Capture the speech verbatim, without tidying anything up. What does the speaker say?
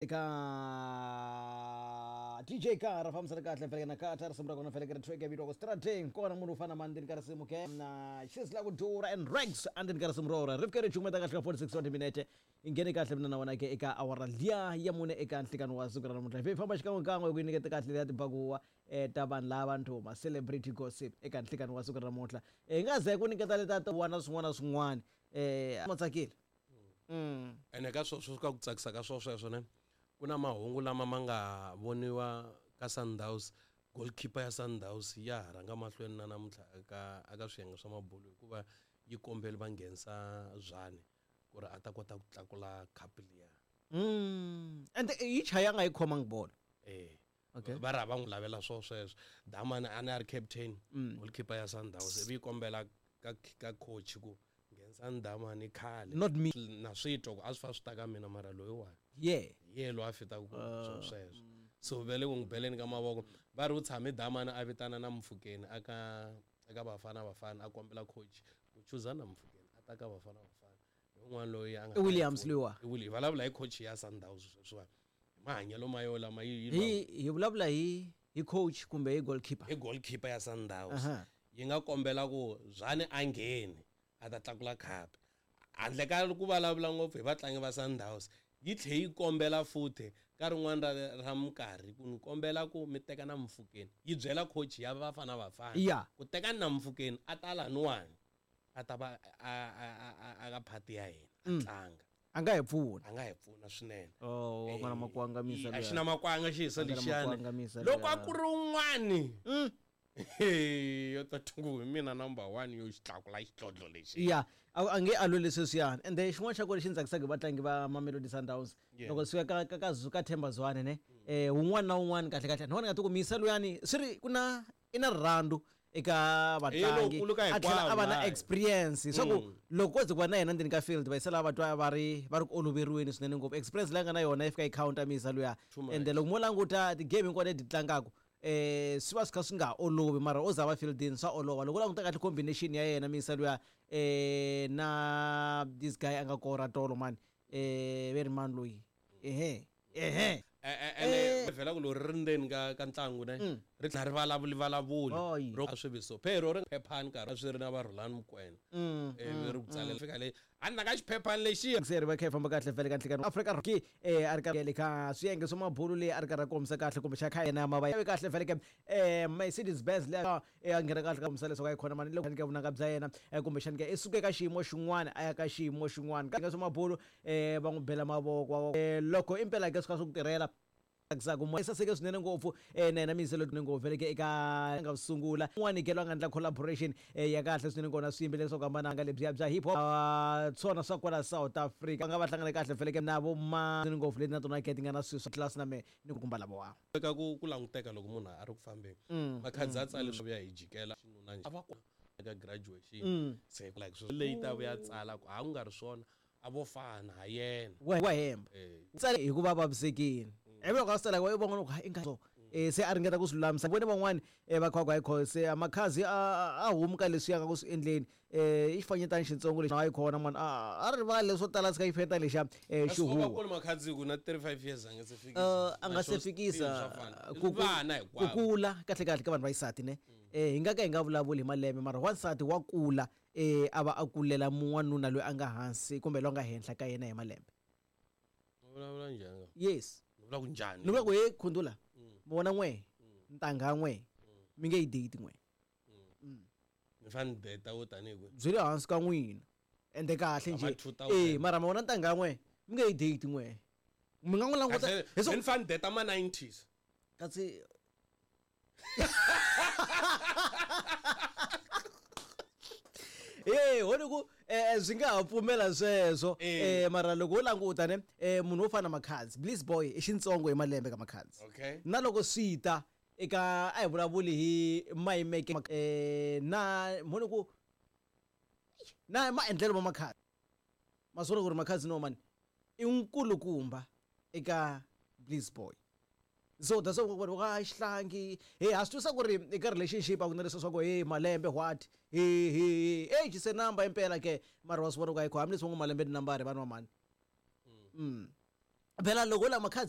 Eka D J Kara fambisana kahle feleke na Kata risimu ra kona feleke ri track ya vitiwaka Strateng kona munhu u fana na ndzeni ka risimu ke na Xisla ku dura and Rex endzeni ka risimu rora ri fike ri cukumeta kahle ka forty-six wa timinete i nghene kahle mina na wena ke eka awara liya ya mune eka nhlikani wa siku ra namuntlha hi famba xikan'wekan'we ku nyiketa kahle ya tibakuwa ta vanhu lava ntuma celebrity gossip eka nhlikani wa siku ra namuntlha hi nga ze ku nyiketa leta ta wana swin'wana na swin'wana eh ma tsakile mm ene ka sweswo ka ku tsakisa ka swo sweswo ne ku na mahungu lama ma nga voniwa ka Sundowns goalkeeper ya Sundowns ya ha rhanga mahlweni na namuntlha eka eka swiyenge swa mabulu hikuva yi kombeli va nghenisa Zwane ku ri a ta kota ku tlakula cup liya mm ende yi chaya nga yi khomangi bolo eh okay va ra va n'wi lavela swo sweswo Damani a ni a ri captain goalkeeper ya Sundowns ivi yi kombela ka ka coach ku nghenisa Damani khale not me na swi twa ku a swi fa swi ta ka mina mara loyiwani yeah ye loyi a fitaka ku swo sweswo so ve le ku n'wi beleni ka mavoko va ri u tshame Damani a vitana na Mfukeni aka eka Bafana Bafana a kombela coach ku chuza na Mfukeni a ta ka Bafana Bafana hi un'wana loyi a nga I Williams loyiwa i Williams vulavula hi coach ya Sundowns sweswiwani hi mahanyelo ma yo lama yi hi hi vulavula hi hi coach kumbe hi goalkeeper hi goalkeeper ya Sundowns yi nga kombela ku Zwane a ngheni a ta tlakula cup handle ka ku vulavula ngopfu hi vatlangi va Sundowns yi tlhe yi kombela futhi ka rin'wana ra ra minkarhi ku ni kombela ku mi teka na Mfukeni yi byela coach ya Bafana Bafana yeah ku teka na Mfukeni a ta laniwani a ta va a a a ka party ya hina a tlanga a nga hi pfuna a nga hi pfuna swinene oh wa kona makwanga misa a xi na makwanga xi hisa lexiyani loko a ku ri un'wani yo ta tungu hi mina number one yo xi tlakula xidlodlo lexi ya a nge a lweli sweswiyani ende xin'wana xa kona lexi ndzi tsakisaka hi vatlangi va Mamelodi Sundowns loko swi ka ka ka ka Themba Zwane ne eh un'wana na un'wana kahle kahle ni vona nga ti ku misa luyani swi ri ku na i na rirhandzu eka vatlangi a tlhela a va na experience swa ku loko ko ze ku va na yena ndzeni ka field va yisela va twa va ri va ri ku oloveriweni swinene ngopfu experience leyi nga na yona yi fika yi counter misa luya ende loko mo languta ti-game hinkwato leti tlangaka eh swi va swi kha swi nga olovi mara o za va fieldini swa olova loko u languta kahle combination ya yena misa luya eh na this guy a nga kora tolo mani eh ve ri mani loyi ehe ehe ene vhela ku lori ri ndzeni ka ka ntlangu ne ri tlhela ri vulavuli vulavuli ro a swi vi so phero ri phephani nkarhi swi ri na va Rhulani Mokwena eh ri ku tsalela fika le a ni ka xiphephani lexiya se ri va kha yi famba kahle vhele ka nhlikani Afrika ki eh a ri ka le ka swiyenge swa mabulu leyi a ri karhi a kombisa kahle kumbe xa kha yena ma va kahle vhele ke eh Mercedes Benz leyi a nghena kahle ka kombisa leswaku a yi khona mani loko ka vunanga bya yena kumbe xani ke i suke ka xiyimo xin'wana a ya ka xiyimo xin'wana ka swa mabulu eh va n'wi bela mavoko loko impela ke swi kha swi ku tirhela tsakisaka mo saseke swinene ngopfu eh na yena Miyiselo ngopfu vhele ke eka nga sungula un'wana ke loyi a nga endla collaboration ya kahle swinene kona swiyimbeleri swa ku hambana nga lebyiya bya hip hop swona swa kwala South Africa va nga va hlangane kahle vhele ke na vo ma ngopfu leti na tona ke ti nga na swilo swa class na me ni ku kumba lavawa eka ku ku languteka loko munhu a ri ku fambeni makhadzi a tsale swi vuya hi jikela xinuna a va eka graduation se like swi leyi ta vuya tsala ku a ku nga ri swona a vo fana ha yena wa hemba tsale hikuva vavisekile ivi loko a swi tsala va vona ku i nga so eh se a ringeta ku swi lulamisa vone van'wani va kha va ku se Makhadzi a a humi ka leswi ya nga ku swi endleni eh i xifanyetana xitsongo lexi a yi khona mani a rivali leswo tala swi ka xifanyetana lexiya xi huwa Makhadzi ku na thirty-five years a nga se fikisa a nga se fikisa ku ku kula kahle kahle ka vanhu va xisati ne eh hi nga ka hi nga vulavuli hi malembe mara wansati wa kula eh a va a kulela mun'wanuna loyi a nga hansi kumbe loyi a nga henhla ka yena hi malembe vulavula njhani yes vula ku njhani ni vula ku he khundula mi vona n'we ntangha n'we mi nge yi date n'we ni fane date wo tanihi kwihi byi le hansi ka n'wina ende kahle nje eh mara ma vona ntangha n'we mi nge yi date n'we mi nga n'wi languta ni fane date ma nineties kasi eh hone ku eh swi nga ha pfumela sweswo eh mara loko wo languta ne eh munhu wo fana Makhadzi Bliss Boy i xintsongo hi malembe ka Makhadzi okay na loko swi ta eka a hi vulavuli hi mayimeke eh na mhone ku na maendlelo ma Makhadzi ma swi vona ku ri Makhadzi no mani i nkulukumba eka Bliss Boy so that's what we are xihlangi hey a swi twisa ku ri eka relationship a ku na leswi swa ku hey malembe what hey hey age se number impela ke mara wa swi vona ku ayikho hambileswi va ngo malembe ni nambara vanhu va mani mm phela loko la Makhadzi